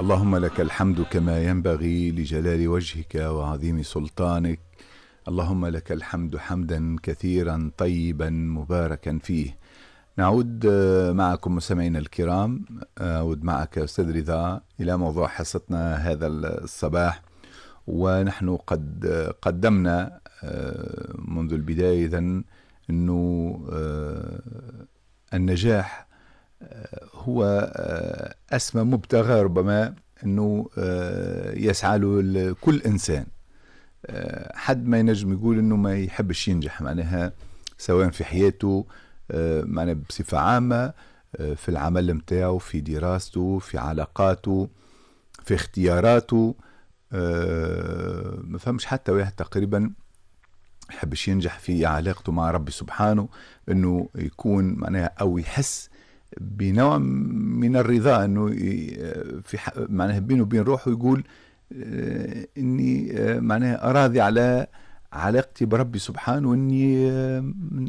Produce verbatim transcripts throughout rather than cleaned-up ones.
اللهم لك الحمد كما ينبغي لجلال وجهك وعظيم سلطانك. اللهم لك الحمد حمدا كثيرا طيبا مباركا فيه. نعود معكم مستمعينا الكرام، أعود معك أستاذ رضا إلى موضوع حصتنا هذا الصباح، ونحن قد قدمنا منذ البداية إذن أنه النجاح هو أسمى مبتغى ربما أنه يسعى له كل إنسان. حد ما ينجم يقول أنه ما يحبش ينجح، معناها سواء في حياته، معناها بصفة عامة، في العمل متاعه، في دراسته، في علاقاته، في اختياراته. ما فهمش حتى واحد تقريبا يحبش ينجح في علاقته مع ربي سبحانه، أنه يكون معناها أو يحس بنوع من الرضا، أنه في معناها بينه وبين روحه يقول إني معناها أراضي على علاقتي بربي سبحانه، وإني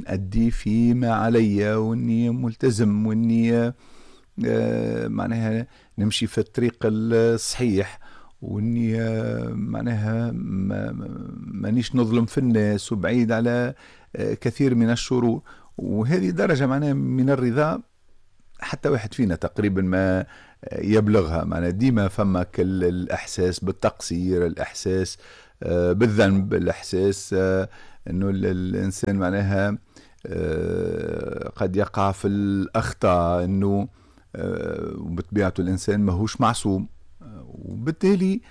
أدي فيما علي، وإني ملتزم، وإني معناها نمشي في الطريق الصحيح، وإني معناها مانيش نظلم في الناس، وبعيد على كثير من الشرور. وهذه درجة معناها من الرضا حتى واحد فينا تقريبا ما يبلغها. معناها ديما فما كل الإحساس بالتقصير، الإحساس بالذنب، الإحساس أنه الإنسان معناها قد يقع في الأخطاء، أنه بطبيعته الإنسان ماهوش معصوم، وبالتالي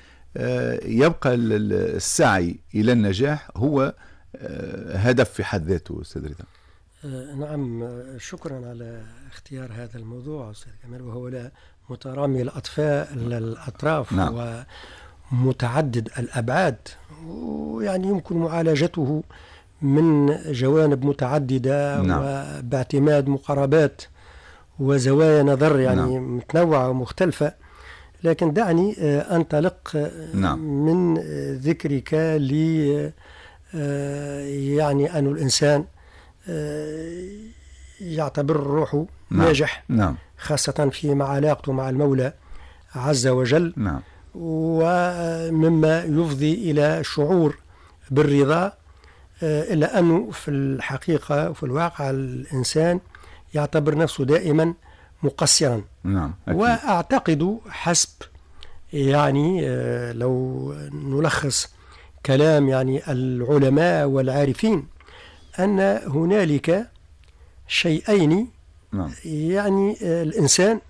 يبقى السعي إلى النجاح هو هدف في حد ذاته. أستاذ رضا. نعم، شكرا على اختيار هذا الموضوع أستاذ كمال، وهو لا مترامي الأطفاء الأطراف. نعم. ومتعدد الأبعاد، ويعني يمكن معالجته من جوانب متعددة. نعم. وباعتماد مقاربات وزوايا نظر يعني. نعم. متنوعة ومختلفة، لكن دعني أنطلق. نعم. من ذكرك ل يعني أن الإنسان يعتبر روحه. نعم. ناجح. نعم. خاصة في علاقته مع المولى عز وجل. نعم. ومما يفضي إلى شعور بالرضا، إلا أنه في الحقيقة وفي الواقع الإنسان يعتبر نفسه دائما مقصرا. نعم. أكيد. وأعتقد حسب يعني لو نلخص كلام يعني العلماء والعارفين أن هنالك شيئين. نعم. يعني الإنسان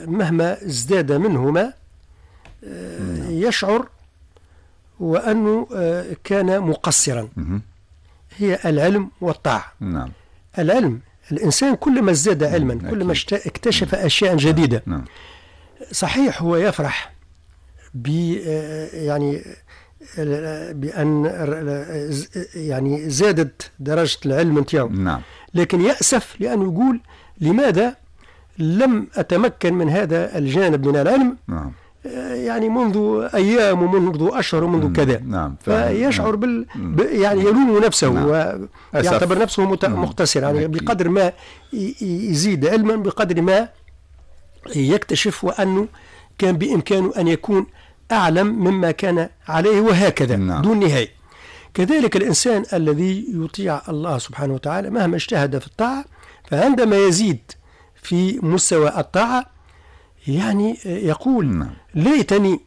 مهما ازداد منهما. نعم. يشعر وأنه كان مقصرا. هي العلم والطاعة. نعم. العلم، الإنسان كلما ازداد علما، كلما اكتشف أشياء جديدة. نعم. صحيح هو يفرح ب يعني بأن يعني زادت درجة العلم نتاعو. نعم. لكن يأسف لأنه يقول لماذا لم أتمكن من هذا الجانب من العلم. نعم. يعني منذ أيام ومنذ أشهر ومنذ كذا. نعم. فيشعر بال يعني يلوم نفسه. نعم. ويعتبر نفسه مقتصر، يعني بقدر ما يزيد علما بقدر ما يكتشف وأنه كان بإمكانه أن يكون أعلم مما كان عليه، وهكذا. نعم. دون نهاية. كذلك الإنسان الذي يطيع الله سبحانه وتعالى مهما اجتهد في الطاعة، فعندما يزيد في مستوى الطاعة يعني يقول. نعم. ليتني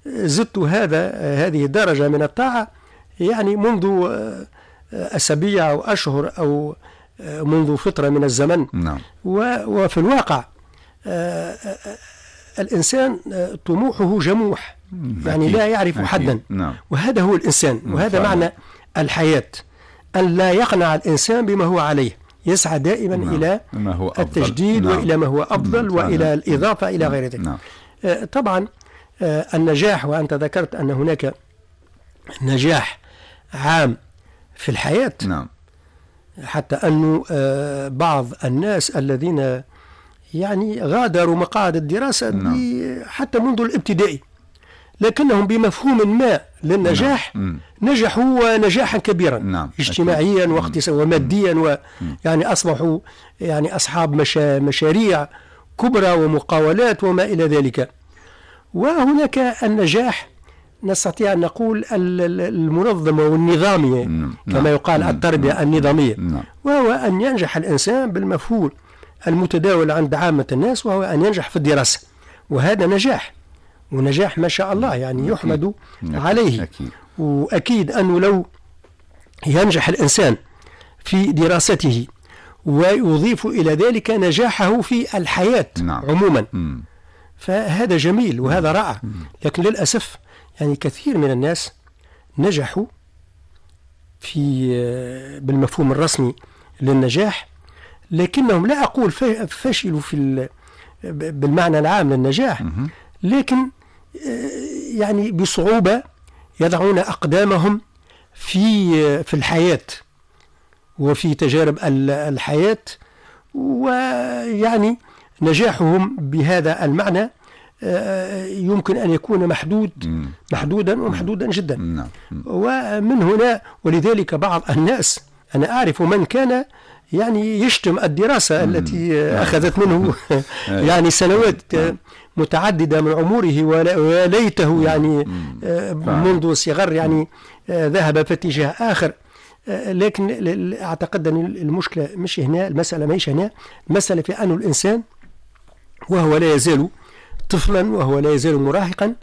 زدت هذا هذه الدرجة من الطاعة يعني منذ أسابيع أو أشهر أو منذ فترة من الزمن. نعم. وفي الواقع الإنسان طموحه جموح، يعني لا يعرف حدا. نعم. وهذا هو الإنسان، وهذا معنى الحياة، أن لا يقنع الإنسان بما هو عليه، يسعى دائما. نعم. إلى ما هو أفضل. التجديد. نعم. وإلى ما هو أفضل. نعم. وإلى الإضافة إلى غير ذلك. نعم. طبعا النجاح، وأنت ذكرت أن هناك نجاح عام في الحياة. نعم. حتى أنه بعض الناس الذين يعني غادروا مقاعد الدراسة. نعم. حتى منذ الابتدائي، لكنهم بمفهوم ما للنجاح. نعم. نجحوا نجاحا كبيرا. نعم. اجتماعيا واقتصاديا وماديا، ويعني أصبحوا يعني أصحاب مشا مشاريع كبرى ومقاولات وما إلى ذلك. وهناك النجاح نستطيع أن نقول المنظم والنظامي كما يقال التربية النظامية، وهو أن ينجح الإنسان بالمفهوم المتداول عند عامة الناس، وهو أن ينجح في الدراسة، وهذا نجاح، ونجاح ما شاء الله يعني يحمد عليه. وأكيد أنه لو ينجح الإنسان في دراسته ويضيف إلى ذلك نجاحه في الحياة نعم. عموما مم. فهذا جميل وهذا رائع. لكن للأسف يعني كثير من الناس نجحوا في بالمفهوم الرسمي للنجاح، لكنهم لا أقول فشلوا في بالمعنى العام للنجاح، لكن يعني بصعوبة يضعون أقدامهم في في الحياة وفي تجارب الحياة، ويعني نجاحهم بهذا المعنى يمكن أن يكون محدود محدودا ومحدودا جدا. ومن هنا ولذلك بعض الناس، أنا أعرف من كان يعني يشتم الدراسة التي أخذت منه يعني سنوات متعددة من عمره، وليته يعني منذ صغر يعني ذهب في اتجاه آخر. لكن أعتقد أن المشكلة مش هنا، المسألة مش هنا، المسألة في أن الإنسان وهو لا يزال طفلا وهو لا يزال مراهقا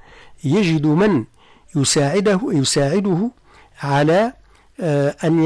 يجد من يساعده يساعده على أن